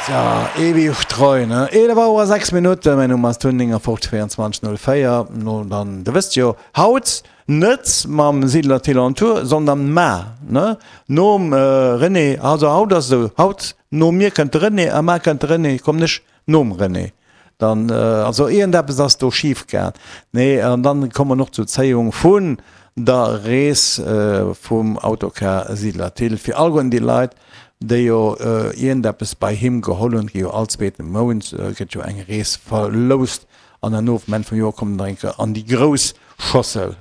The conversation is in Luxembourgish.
Ja, ewig treu, ne? 11 Auer 6 Minutten, mäin Numm ass Tun 59 24 04. No dann, der wësst jo, haut net mam Siedler Thill on Tour, sondern ma, ne? Nom René, also haut ass esou, haut no mir kënnt de René a mar kënnt de René, kommen ech nom René. Dann, also iergendeppes ass do schif gaang. Nee, an dann komme mer och zur Zéiung vun der Rees vum Autocar Siedler Thill fir alleguerten déi Leit, déi jo iergendeppes bei him geholl hunn. Et gi jo all zweete Mount gëtt jo eng Rees verloust an herno um Enn vum Joer kommt nach eng Kéier an déi grouss Schossel.